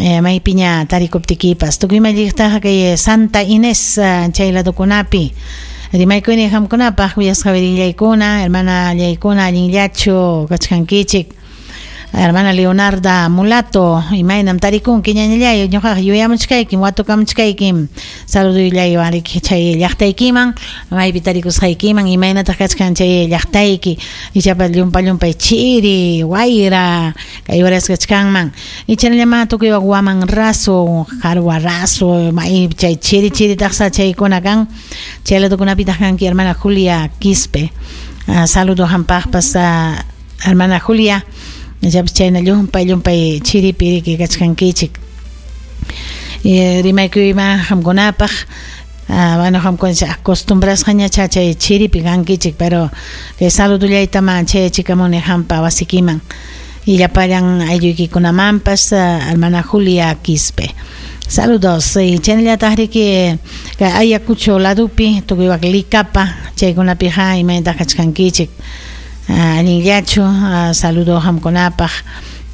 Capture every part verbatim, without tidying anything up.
Maypiña tarikuptikipas tukuy malliqtaqa kay Santa Inés chay ladukunapi rimaykuni qamkunapaq kuyasqa wirillaykuna hermana llaykuna allinllachu kachkankichik. Hermana Leonarda Mulato, imaynam tarikunki ñañallay ñuqaqa yuyamuchkaykim watukamuchkaykim saluduyllawan riki chay llaqtaykiman maypi tarikusqaykiman imaynataq kachkan chay llaqtayki ichapas llumpa llumpay chiri wayra kay horas kachkanman ichanallama tukuy waman raso qarwa raso may chay chiri chiri taqsa chaykuna kan chay ladukunapitaq kanki hermana Julia Quispe. Uh, saludo hampaqpas uh, hermana Julia ichapas chayna llumpay llumpay chiripi riki kachkankichik. Rimaykuyma qamkunapaq bueno qamkuna acostumbrasqaña chay chiripi kankichik pero kay saludullaytama chayachikamuni qampa wasikiman y llapallan aylluykikunamanpas hermana Julia Quispe. Saludos y chaynallataq riki kay Ayacucho ladupi tukuywak Licapa chaykunapiqa imaynataq kachkankichik. Allinllachu saludo qamkunapaq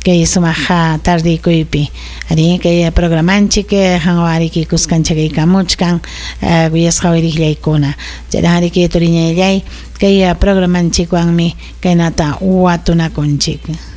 kay sumaq tardikuypi ari kay programanchik qanwan riki kuskanchakaykamuchkan kuyasqa wiriqllaykuna chayta riki turiñayllay kay programanchikwanmi kaynata watunakunchik.